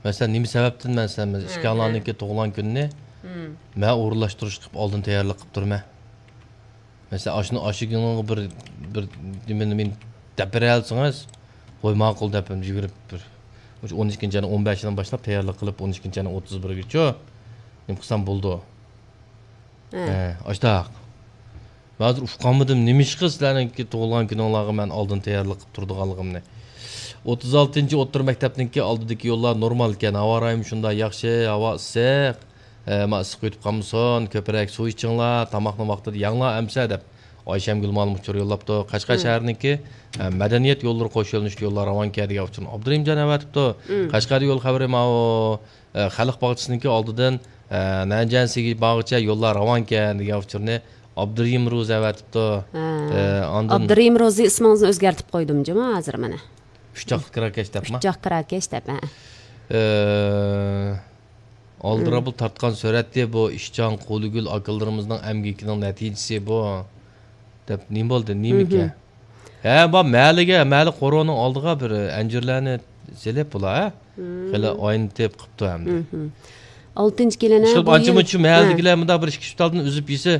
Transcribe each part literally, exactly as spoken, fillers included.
مەسىلەن، نېمە سەۋەبتىن مەن سەن ئىككىڭلارنىڭكى تۇغۇلغان كۈنىنى مەن ئورۇنلاشتۇرۇش قىلىپ ئالدىن تەييارلىق قىلىپ تۇرىمەن. مەسىلەن، ئاشۇنى ئاشۇ كۈنىڭغا بىر، بىر نېمىنى مېنى دەپ بېرەلىسىڭىز، ۋاي ماقۇل دەپ يۈگۈرۈپ بىر، مۇشۇ ئون ئىككىنچى ئاينىڭ ئون بەشىدىن باشلاپ تەييارلىق قىلىپ، ئون ئىككىنچى ئاينىڭ ئوتتۇز بىرىگىچە نېمە قىلسام بولىدۇ. ھە. ھە، ئاشتاق. مەن ھازىر ئۇقالمىدىم، نېمىشقا سىلەرنىڭكى تۇغۇلغان كۈنۈڭلارغا مەن ئالدىن تەييارلىق قىلىپ تۇرىدىغانلىقىمنى. ئوتتۇز ئالتىنچى ئوتتۇرا مەكتەپنىڭكى ئالدىدىكى يوللار نورمال ئىكەن، ھاۋا رايىمۇ شۇنداق ياخشى، ھاۋا ئىسسىق. ئە، ما ئىسسىق ئۆتۈپ قالمىسۇن، كۆپرەك سۇ ئىچىڭلار، تاماقنى ۋاقتىدا يەڭلار ئەمسە دەپ ئايشەمگۈل مۇئەللىم ئۇچۇر يوللاپتۇ. قەشقەر شەھىرىنىڭكى، ئە، مەدەنىيەت يوللىرى قوش يۆنىلىشلىك يوللار راۋانكەن دېگەن ئۇچۇرنى ئابدۇرېھىمجان ئەۋەتىپتۇ. قەشقەردە يول خەۋىرى ماۋۇ، ئە، خەلق باغچىسىنىڭكى ئالدىدىن، ئە، نەنجىيەن سىگى باغچە يوللار راۋانكەن دېگەن ئۇچۇرنى ئابدۇرېھىم روزى ئەۋەتىپتۇ. ھە. ئە، ئاندىن ئابدۇرېھىم روزى ئىسمىڭىزنى ئۆزگەرتىپ قويدۇم جۇمۇ ھازىر مانا. ئۈچ چاقلىق كىراكەش دەپما؟ ئۈچ چاق كىراكەش دەپ، ھە. ئە، ئالدىراپلا تارتقان سۈرەتتى بۇ، ئىشچان قۇلىگۈل ئاكىلىرىمىزنىڭ ئەمگىكىنىڭ نەتىجىسى بۇ، دەپ نېمە بولدى، نېمىكەن؟ ھە، بۇ مەھەللىگە، مەھەللە قورۇنىڭ ئالدىغا بىر ئەنجۈرلەرنى سېلىپ بۇلار، ھە؟ خېلى ئاينىتىپ قىپتۇ ئەمدى. ئالتىنچى كېلىنە ئىشقىلىپ بۇ ئانچە يىل مۇنچە ھە. مەھەللىدىكىلەر مۇنداق بىر ئىككى ئۈچ تالدىن ئۈزۈپ يېسە،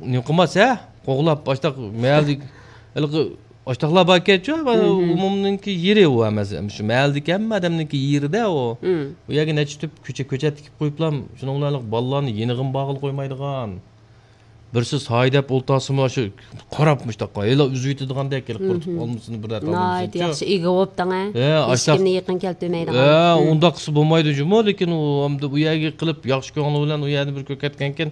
نېمە قىلماس، ھە؟ قوغلاپ، باشتا مەھەللىدىكى، ھېلىقى ئاشتاقلار باركەنچۇ، ئۇنىڭكى يېرى ئۇ ئەمەس. شۇ مەھەللىدىكى ھەممە ئادەمنىڭكى يېرىدە ئۇ. ئۇ يەرگە نەچچە تۈپ كۆچە، كۆچەت تىكىپ قويۇپلا، شۇنىڭ بىلەن بالىلارنى يېنىغىمۇ بارغىلى قويمايدىغان. بىرسى سايە دەپ ئولتۇرسىمۇ، شۇ قاراپ مۇشتاققا، ھېلى ئۈزۈۋېتىدىغاندەك، ھېلى قۇرۇتۇپ قالمىسۇن، بىر ناھايىتى ياخشى ئىگە بوپتىڭ، ھە؟ ھېچكىمنى يېقىن كەلتۈرمەيدىغان. ھە، ئۇنداق قىلسا بولمايدۇ جۇمۇ، لېكىن ئۇ ئەمدى ئۇ يەرگە قىلىپ، ياخشى كۆڭلى بىلەن ئۇ يەردە بىر كۆركەتكەنكىن،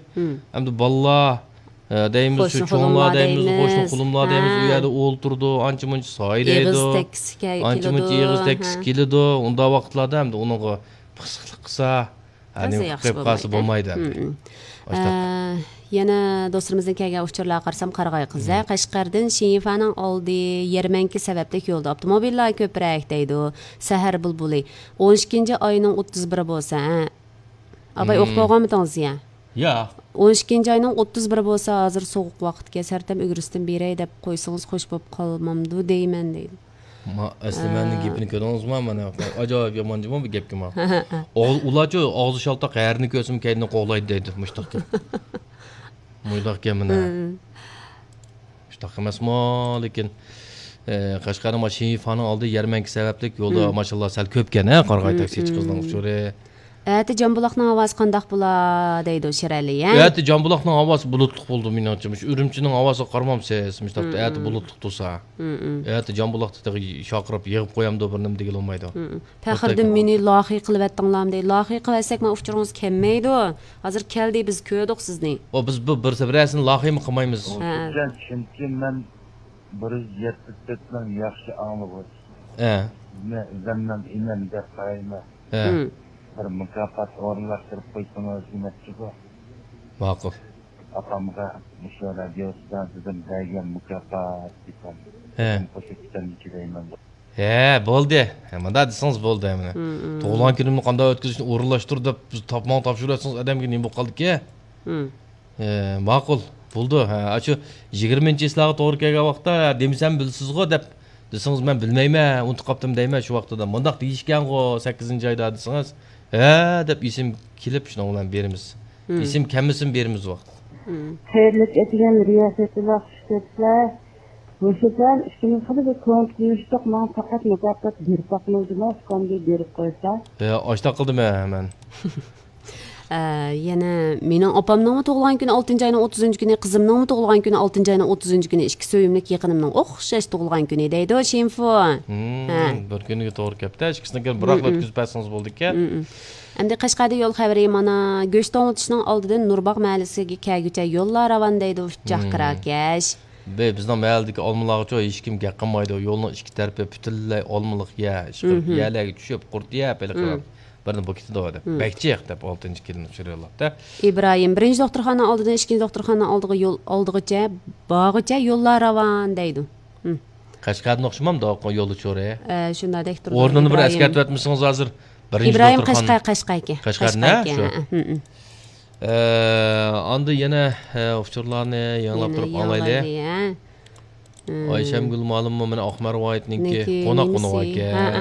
ئەمدى بالىلار، ھە، دەيمىز، شۇ قوشنا چوڭلار قولۇملار دەيمىز، دەيمىز. قوشنا قولۇملار دەيمىز، ھە. ئۇ يەردە ئولتۇرىدۇ، ئانچە مۇنچە سايە دەيدۇ. ئېغىز تەگكۈسى كە-، ئانچە مۇنچە كېلىدۇ، ئېغىز تەگكۈسى ھە. كېلىدۇ. ئۇنداق ۋاقىتلاردا ئەمدى ئۇنىڭغا پىخسىقلىق قىلسا، ھە، تازا نېمە ياخشى قىلىپ قالسا بولمايدۇ. بولمايدۇ ئەمدى. ئاشتاق. ئە، يەنە دوستلىرىمىزدىن كەلگەن ئۇچۇرلارغا قارىسام، قارىغاي قىز، ھە، قەشقەردىن شىنفانىڭ ئالدى يەرمەنكە سەۋەبلىك يولدا ئاپتوموبىللار كۆپرەك دەيدۇ. سەھەر بۇلبۇلى. ئون ئىككىنچى ئاينىڭ ئوتتۇز بىرى بولسا، ھە. ئاباي ئوقۇپ بولغانمىدىڭىز يا؟ ياق. ئون ئىككىنچى ئاينىڭ ئوتتۇز بىرى بولسا، ھازىر سوغۇق ۋاقىتكەن، سەرتەم ئۈگرىسىدىن بېرەي دەپ قويسىڭىز خوش بولۇپ قالمامدۇ دەيمەن دەيدۇ. ما، ئەسلى مەننىڭ گېپىنى كۆردىڭىزمۇ؟ مانا ئاجايىپ يامان جۇمۇ بۇ گەپكە ما. ئۇلارچۇ ئاغزى شالتاق، ھەرىنى كۆرسىمۇ كەينىدىن قوغلايدۇ دەيدۇ، مۇشتاق گەپ. مۇنداق گەپ مانا. مۇشتاق ئەمەسمۇ، لېكىن، ئە، قەشقەرنىڭ ما شىنفانىڭ ئالدى يەرمەنكە سەۋەبلىك يولدا ماشىنىلار سەل كۆپكەن، ھە، قارىغاي تاكسىچى قىزنىڭ ئۇچۇرى. ئەتە جامبۇلاقنىڭ ھاۋاسى قانداق بولا دەيدۇ شىرئەلى، ھە؟ ئەتە جامبۇلاقنىڭ ھاۋاسى بۇلۇتلۇق بولىدۇ مېنىڭچە. مۇشۇ ئۈرۈمچىنىڭ ھاۋاسىغا قارىمامسىز؟ مۇشۇنداق ئەتە بۇلۇتلۇق تۇرسا. ئەتە جامبۇلاقتا تېخى شارقىراپ يېغىپ قويامدۇ، بىر نېمە دېگىلى بولمايدۇ. پەخرىدىن مېنى لاخىي قىلىۋەتتىڭلارمۇ دەيدۇ. لاخىي قىلىۋەتسەك، مانا ئۇچۇرىڭىز كەلمەيدۇ. ھازىر كەلدى، بىز كۆردۇق سىزنى. ئۇ بىز بۇ بىر، بىرەرسىنى لاخىيمۇ قىلمايمىز. ھە. چۈنكى مەن بىر يۈز يەتمىش تۆت مىڭ ياخشى ئاڭلىغۇچى. ھە. مەن ئۆزۈمنىڭ ئىنىم دەپ قارايمەن. ھە. بىر مۇكاپات ئورۇنلاشتۇرۇپ قويسىڭىز دېمەكچىغۇ. ماقۇل. ئاپامغا مۇشۇ رادىيو ئىستانسىدىن بەرگەن مۇكاپات دېسەم، ھە. قوشۇپ كېتەمدىكى دەيمەن. ھە، بولدى. ھە، مۇنداق دېسىڭىز بولدى، مانا. تۇغۇلغان كۈنۈمنى قانداق ئۆتكۈزۈشنى ئورۇنلاشتۇر دەپ، بىز تاپماڭ تاپشۇرۇۋەتسىڭىز، ئادەمگە نېمە بولۇپ قالدىكى؟ ھە، ماقۇل. بولدى. ھە، ئاشۇ يىگىرمىنچى چىسلاغا توغرا كەلگەن ۋاقىتتا، ھە، دېمىسەم بىلىسىزغۇ دەپ دېسىڭىز، مەن بىلمەيمەن، ئۇنتۇپ قاپتىمەن دەيمەن شۇ ۋاقتىدا. مۇنداق دېيىشكەنغۇ سەككىزىنچى ئايدا دېسىڭىز، ھە، دەپ ئېسىم كېلىپ شۇنىڭ بىلەن بېرىمىز. ئېسىم كەلمىسىمۇ بېرىمىز ۋاقىت. خەيرلىك ئەتىگەن رىياسەتچىلەر، خۇش كەپسىلەر. مۇشۇ سان ئىككىمىز خېلى بىر كۆڭۈل قويۇشتۇق، ماڭا پەقەت مۇكاپات بېرىپ باقمىدىما، ئۇكامدىن بېرىپ قويسا. ھە، ئاشتاق قىلدىم ھە، مەن. ئە، يەنە مېنىڭ ئاپامنىڭمۇ تۇغۇلغان كۈنى ئالتىنچى ئاينىڭ ئوتتۇزىنچى كۈنى، قىزىمنىڭمۇ تۇغۇلغان كۈنى ئالتىنچى ئاينىڭ ئوتتۇزىنچى كۈنى، ئىككى سۆيۈملۈك يېقىنىمنىڭ ئوخشاش تۇغۇلغان كۈنى دەيدۇ، شىنفۇ. ھە. بىر كۈنگە توغرا كەپتە، ئىككىسىنىڭكىنى بىراقلا ئۆتكۈزۈپ بەرسىڭىز بولدىكەن. ئەمدى قەشقەردە يول خەۋىرى مانا، گۆش توڭلىتىشنىڭ ئالدىدىن نۇرباغ مەھەللىسىگە كەلگۈچە يوللار راۋان دەيدۇ، ئۇچچاق كىراكەش. بەي، بىزنىڭ مەھەللىدىكى ئالمىلارغىچۇ ھېچكىم گەپ قىلمايدۇ. يولنىڭ ئىككى تەرىپى پۈتۈنلەي ئالمىلىق يەر. ئىشقىلىپ يەرلەرگە چۈشۈپ، قۇرت يەپ، ھېلىقى بىرنى بۇ كېتىدۇ دەپ. بەك جىق دەپ ئالتىنچى كېلىن ئۇچۇر يوللاپتۇ. ئىبراھىم، بىرىنچى دوختۇرخانا ئالدىدىن ئىككىنچى دوختۇرخانا ئالدىغا يول، ئالدىغىچە، بارغىچە يوللار راۋان دەيدۇ. قەشقەردىن ئوخشىمامدۇ يول ئۇچۇرى؟ ئە، شۇنداقتەك تۇرىدۇ. ئورنىنى بىر ئەسكەرتىۋەتمىسىڭىز ھازىر. بىرىنچى ئىبراھىم دوختۇرخانا. قەشقەر، قەشقەركەن. قەشقەر، قەشقەركەن، شۇ. ئە، ئاندىن يەنە، ئە، ئۇچۇرلارنى يېڭىلاپ تۇرۇپ ئاڭلايلى. ئايشەمگۈل مۇئەللىممۇ مانا ئاقمار ۋايىتنىڭكى قوناق قونۇپ ئىكەن.